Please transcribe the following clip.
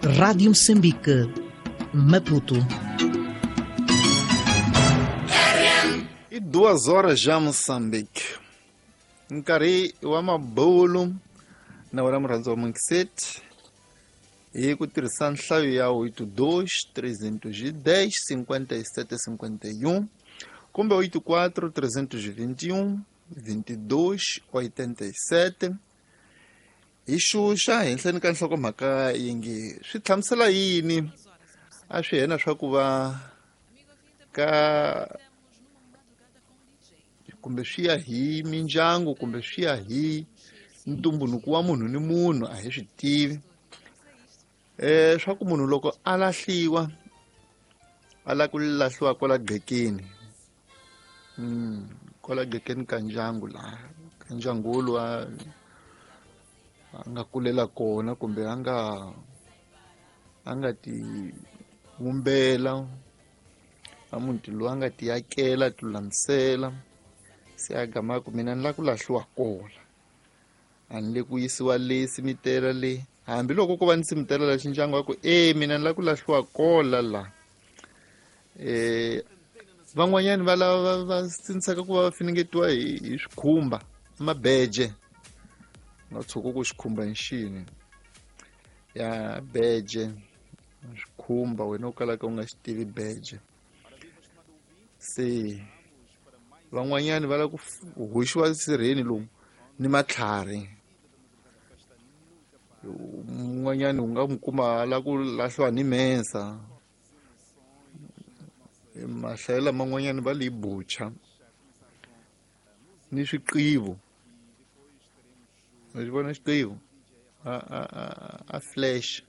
Rádio Moçambique, Maputo. I 2 horas já Moçambique. Nkarhi wa mabulu na wena murhandzi wa Mungiseti hi ku tirhisa nhlayo ya 82 310 57 51 kumbe 84 321 22 87, hi xuxa henhleni ka nhlokomhaka yi nge swi hlamusela yini a swi hena swa ku va ka kumbe swi ya hi mindyangu kumbe swi ya hi ntumbuluko wa munhu ni munhu, a hi swi tivi swa ku munhu loko a lahliwa a lava ku lahliwa kwala gqekeni, kwala gqekeni ka ndyangu, laha ka ndyangu lowu a nga kulela kona kumbe a nga ti vumbela a muti lowu, a nga ti yakela, ti lulamisela, se a gama ku mina ni lava ku lahliwa kola, a ni le ku yisiwa le simitela le, hambiloko ko va ni simitela la xindyangu wa ku e mina ni lava ku lahliwa kola la. Van'wanyani va lava va sindzisaka ku va va finingetiwa hi swikhumba, mabeje, nga tshuka ku xikhumba i xini ya beje, swikhumba wena u kalaka u nga xi tivi beje. Se van'wanyani va lava ku hoxiwa sirheni lomu ni matlhari, un'wanyani u nga n'wi kuma a lava ku lahliwa ni mensa, mahlayelo laman'wanyani va li bucha ni swiqivo, wa xi vona xiqivo a flash.